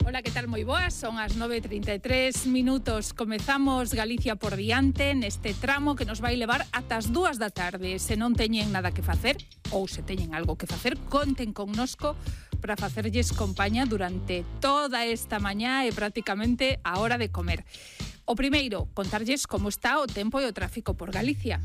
Ola, que tal? Moi boas, son as 9:33 minutos. Comezamos Galicia por diante neste tramo que nos vai levar ata as 2 da tarde. Se non teñen nada que facer, ou se teñen algo que facer, conten connosco para facerlles compañía durante toda esta mañá e prácticamente a hora de comer. O primeiro, contarlles como está o tempo e o tráfico por Galicia.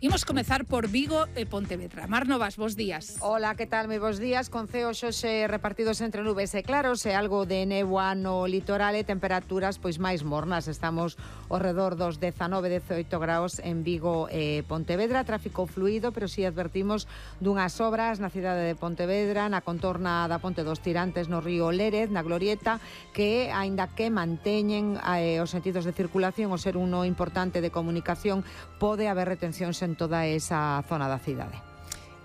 Imos comezar por Vigo e Pontevedra. Mar Novas, bos días. Hola, que tal? Moi bos días. Con ceos hoxe repartidos entre nubes e claros e algo de néboa no litoral e temperaturas pois máis mornas. Estamos ao redor dos 19-18 graus en Vigo e Pontevedra. Tráfico fluido, pero si advertimos dunhas obras na cidade de Pontevedra, na contorna da Ponte dos Tirantes no río Lérez, na Glorieta, que aínda que manteñen os sentidos de circulación, o ser uno importante de comunicacións, pode haber retencións en toda esa zona da cidade.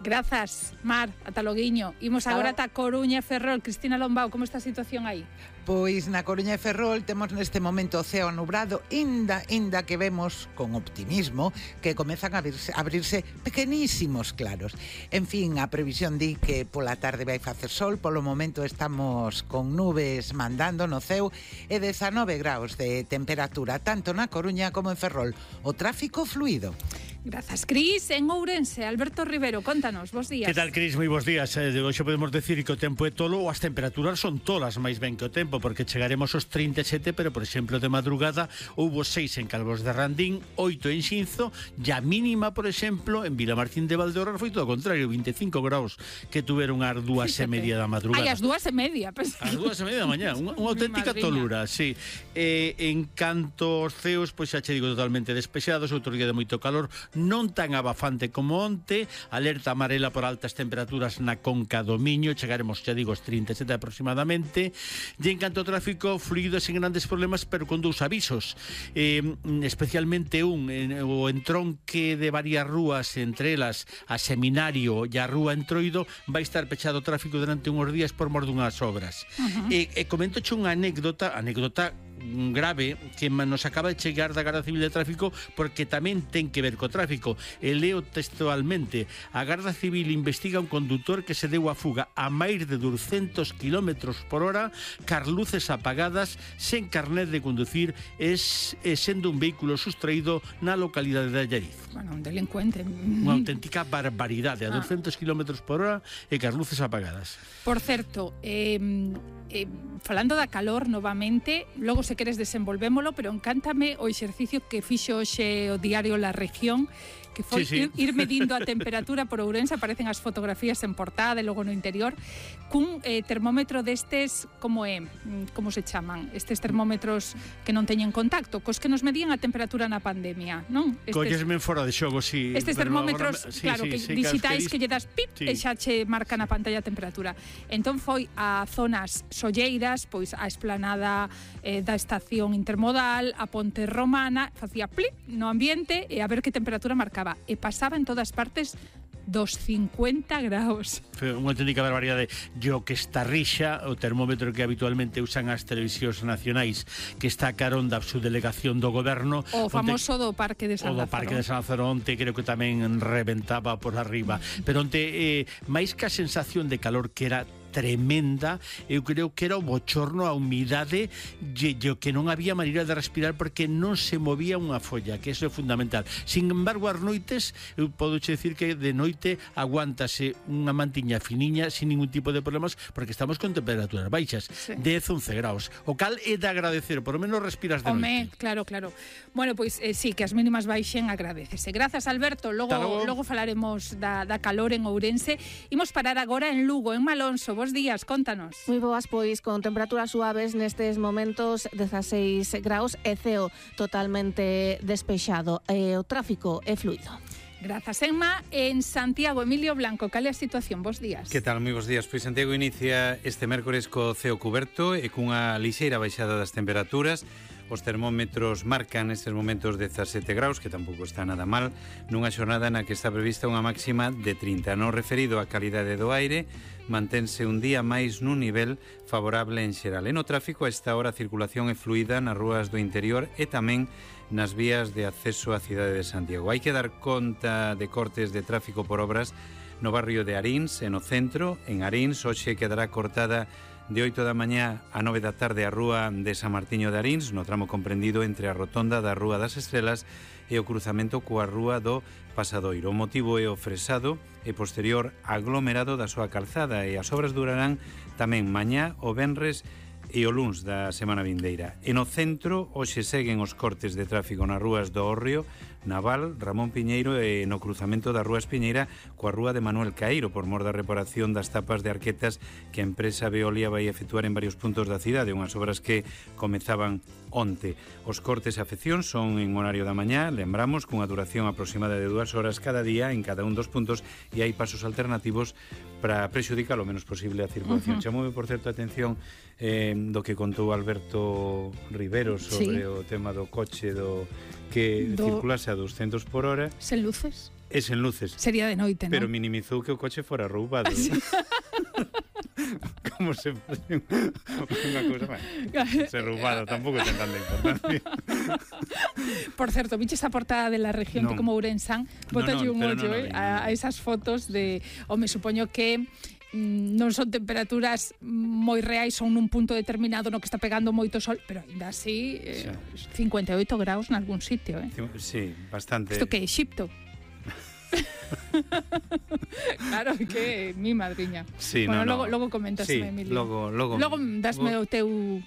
Grazas, Mar, ata loguiño. Imos agora ata Coruña e Ferrol. Cristina Lombao, como está a situación aí? Pois na Coruña e Ferrol temos neste momento o ceo nubrado, inda que vemos con optimismo que comezan a abrirse pequenísimos claros. En fin, a previsión di que pola tarde vai facer sol, polo momento estamos con nubes mandando no ceo e 19 graus de temperatura, tanto na Coruña como en Ferrol. O tráfico fluido. Grazas, Cris. En Ourense, Alberto Rivero, contanos, bos días. Que tal, Cris? Moi bos días. Hoxe podemos decir que o tempo é tolo ou as temperaturas son tolas máis ben que o tempo, porque chegaremos aos 37, pero, por exemplo, de madrugada houbo 6 en Calvos de Randín, 8 en Xinzo, e a mínima, por exemplo, en Vilamartín de Valdeorras foi todo o contrario, 25 graus que tuveron as 2:30 da madrugada. Ai, as 2:30. Pues... As 2:30 da mañá, unha auténtica tolura, sí. En canto aos ceos, pois xa che digo, totalmente despexados, outro día de moito calor, non tan abafante como onte, alerta amarela por altas temperaturas na Conca do Miño, chegaremos, xa digo, aos 37 aproximadamente, e en canto ao tráfico, fluido sen grandes problemas, pero con dous avisos, especialmente o entronque de varias rúas, entre elas a Seminario e a Rúa Entroido, vai estar pechado o tráfico durante uns días por mor dunhas obras. E comentoche unha anécdota grave que nos acaba de chegar da Garda Civil de Tráfico, porque tamén ten que ver co tráfico. E leo textualmente: a Garda Civil investiga un condutor que se deu a fuga a máis de 200 km por hora, car luces apagadas, sen carnet de conducir e sendo un vehículo sustraído na localidade de Allariz. Bueno, un delincuente. Unha auténtica barbaridade, a 200 km por hora e car luces apagadas. Por certo, falando da calor novamente, logo se queres desenvolvémolo, pero encántame o exercicio que fixo hoxe o diario La Región, que foi ir medindo a temperatura por Ourense. Aparecen as fotografías en portada e logo no interior, cun termómetro destes, como se chaman? Estes termómetros que non teñen contacto, cos que nos medían a temperatura na pandemia, non? Collesme fora de xogo, sí. Estes termómetros, claro, que digitais que lle das pip e xa che marca na pantalla a temperatura. Entón foi a zonas solleiras, pois a esplanada da estación intermodal, a Ponte Romana, facía plip no ambiente e a ver que temperatura marcaba. E pasaba en todas partes dos 50 graus. Foi unha auténtica barbaridade. Yo que está rixa, o termómetro que habitualmente usan as televisións nacionais, que está a carón da subdelegación do goberno. O famoso do Parque de San Lázaro. O do Parque de San Lázaro, onte creo que tamén reventaba por arriba. Pero onte, máis que a sensación de calor que era tremenda, eu creo que era o bochorno, a humidade, que non había maneira de respirar porque non se movía unha folla, que eso é fundamental. Sin embargo, as noites, eu podo decir que de noite aguántase unha mantiña finiña sin ningún tipo de problemas, porque estamos con temperaturas baixas, 10-11 graus. O cal é de agradecer, por lo menos respiras de noite. Claro. Bueno, pois sí, que as mínimas baixen, agradecese. Grazas, Alberto. Logo falaremos da calor en Ourense. Imos parar agora en Lugo, en Malonso. Bos días, contanos. Moi boas, pois con temperaturas suaves nestes momentos, 16 graus e ceo totalmente despexado. O tráfico é fluido. Grazas, Emma. En Santiago, Emilio Blanco, cal é a situación? Bos días. Que tal? Moi bos días. Pois Santiago inicia este mércores co ceo cuberto e cunha lixeira baixada das temperaturas. Os termómetros marcan nestes momentos 17 graus, que tampouco está nada mal, nunha xornada na que está prevista unha máxima de 30. No referido á calidade do aire, mantense un día máis nun nivel favorable en xeral. E no tráfico, a esta hora a circulación é fluida nas rúas do interior e tamén nas vías de acceso á cidade de Santiago. Hai que dar conta de cortes de tráfico por obras no barrio de Arins, e no centro. En Arins, hoxe quedará cortada de 8 da mañá a 9 da tarde a rúa de San Martiño de Arins, no tramo comprendido entre a rotonda da Rúa das Estrelas e o cruzamento coa Rúa do Pasadoiro. O motivo é o fresado e posterior aglomerado da súa calzada, e as obras durarán tamén mañá, o venres e o luns da semana vindeira. E no centro, hoxe seguen os cortes de tráfico nas rúas do Hórreo, Naval, Ramón Piñeiro e no cruzamento da Rúa Espiñeira coa Rúa de Manuel Caeiro, por mor da reparación das tapas de arquetas que a empresa Veolia vai efectuar en varios puntos da cidade, unhas obras que comezaban onte. Os cortes e afeccións son en horario da mañá, lembramos, cunha duración aproximada de 2 horas cada día en cada un dos puntos, e hai pasos alternativos para prexudicar o menos posible a circulación. Chamoume, por certo, a atención do que contou Alberto Rivero sobre o tema do coche que circulase a 200 por hora. Sen luces? E sen luces. Sería de noite, non? Pero minimizou que o coche fora roubado. Sí. Como se unha cousa máis. Se roubado, tampouco ten tanta importancia. Por certo, viches a portada de La Región, que como Ourensán, botalle un ollo a esas fotos de... Me supoño que non son temperaturas moi reais, son nun punto determinado no que está pegando moito sol, pero ainda así 58 graus en algún sitio, Sí, bastante. Isto que é Exipto? Claro, que mi madriña. Sí, logo comentasme, Emilio. Logo dasme o teu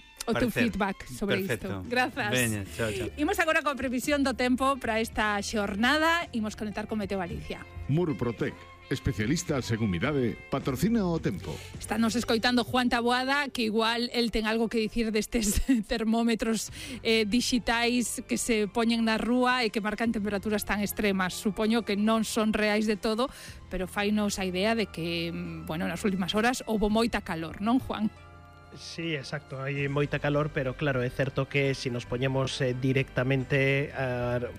feedback sobre isto. Grazas. Veña, chao. Imos agora coa previsión do tempo para esta xornada. Imos conectar con Meteo Galicia. Murprotec, especialistas en humidade, patrocina o tempo. Estános escoitando Juan Taboada, que igual el ten algo que dicir destes termómetros digitais que se poñen na rúa e que marcan temperaturas tan extremas. Supoño que non son reais de todo, pero fainos a idea de que, nas últimas horas houbo moita calor, non, Juan? Sí, exacto, hai moita calor, pero claro, é certo que se nos poñemos directamente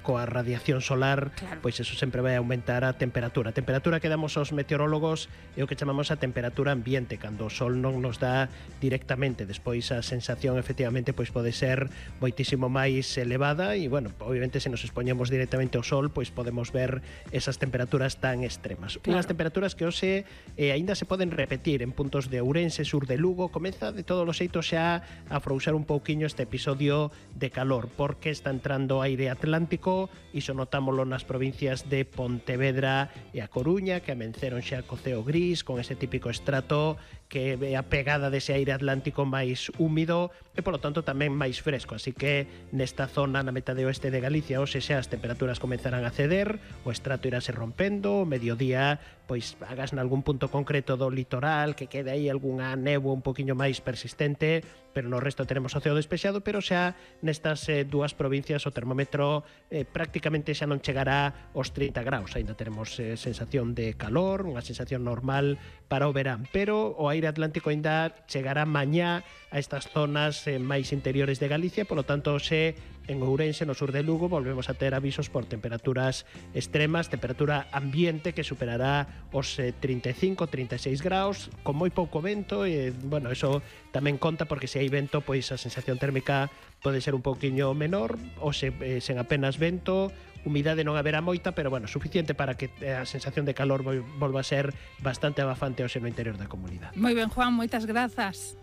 coa radiación solar, pois eso sempre vai aumentar a temperatura. A temperatura que damos aos meteorólogos é o que chamamos a temperatura ambiente, cando o sol non nos dá directamente. Despois a sensación efectivamente pois pode ser moitísimo máis elevada e, obviamente se nos expoñemos directamente ao sol, pois podemos ver esas temperaturas tan extremas. Unhas temperaturas que hoxe aínda se poden repetir en puntos de Ourense, sur de Lugo. Comeza de todos os xeitos xa a afrousar un pouquiño este episodio de calor, porque está entrando aire atlántico, iso notámoslo nas provincias de Pontevedra e a Coruña, que amenceron xa co ceo gris, con ese típico estrato que é a pegada dese aire atlántico máis húmido e, polo tanto, tamén máis fresco. Así que nesta zona, na metade oeste de Galicia, hoxe xa as temperaturas comenzarán a ceder, o estrato irase rompendo, o mediodía, pois hagas nalgún punto concreto do litoral, que quede aí algunha néboa un poquinho máis persistente, pero no resto tenemos o ceo despexado, pero xa nestas dúas provincias o termómetro prácticamente xa non chegará aos 30 graus. Ainda teremos sensación de calor, unha sensación normal para o verán, pero o aire atlántico ainda chegará mañá a estas zonas máis interiores de Galicia, polo tanto, xe en Ourense, no sur de Lugo, volvemos a ter avisos por temperaturas extremas, temperatura ambiente que superará os 35-36 graus, con moi pouco vento, e, eso tamén conta porque se hai vento, pois a sensación térmica pode ser un pouquiño menor, ou sen apenas vento, humidade non haberá moita, pero, suficiente para que a sensación de calor volva a ser bastante abafante hoxe no interior da comunidade. Moi ben, Juan, moitas grazas.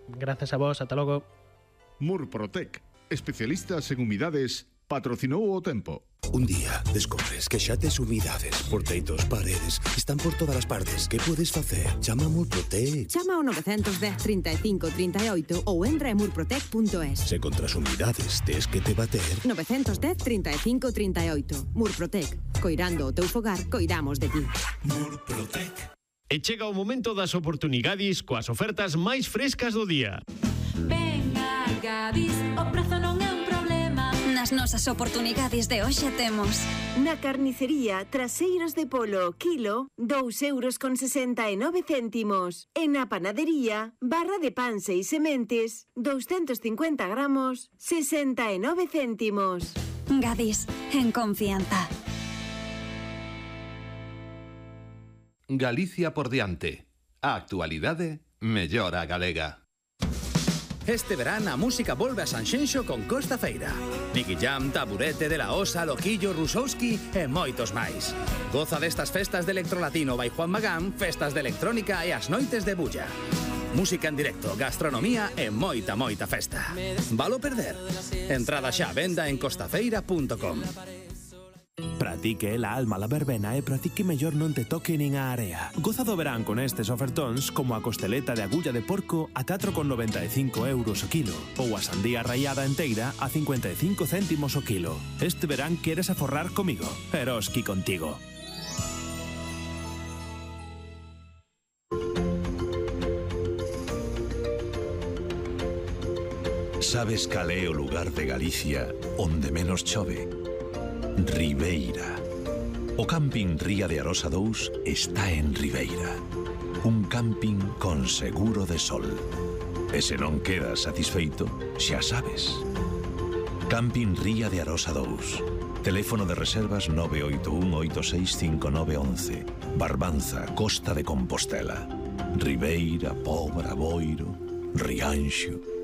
Grazas a vos, ata logo. Murprotec, especialistas en humidades, patrocinou o tempo. Un día descubres que xa tes humidades por teitos, paredes, están por todas as partes. Que podes facer? Chama a Murprotec. Chama ao 910 35 38 ou entra en murprotec.es. Se contra as humidades tes que te bater. 910 35 38. Murprotec. Coirando o teu fogar, coidamos de ti. Murprotec. E chega o momento das oportunidades coas ofertas máis frescas do día. Ven a Gadis, o prezo non é un problema. Na As nosas oportunidades de hoxe temos. Na carnicería Traseiros de Polo, kilo, 2,69 €. E na panadería, barra de pan 6 sementes, 250 gramos, 69 céntimos. Gadis, en confianza. Galicia por diante. A actualidade mellora a galega. Este verán a música volve a Sanxenxo con Costa Feira. Nicky Jam, Taburete, De La Osa, Loquillo, Rusowski e moitos máis. Goza destas festas de electrolatino by Juan Magán, festas de electrónica e as noites de bulla. Música en directo, gastronomía e moita festa. Valo perder? Entrada xa a venda en costafeira.com. Pratique la alma la verbena e para ti que mellor non te toque nin a area. Goza do verán con estes ofertóns como a costeleta de agulla de porco a 4,95 € o kilo ou a sandía rallada enteira a 55 céntimos o kilo. Este verán queres aforrar comigo. Eroski contigo. Sabes cal é o lugar de Galicia onde menos chove? Ribeira. O camping Ría de Arosa 2 está en Ribeira. Un camping con seguro de sol. E se non quedas satisfeito, xa sabes. Camping Ría de Arosa 2. Teléfono de reservas 981-865911. Barbanza, Costa de Compostela. Ribeira, Pobra, Boiro, Rianxo.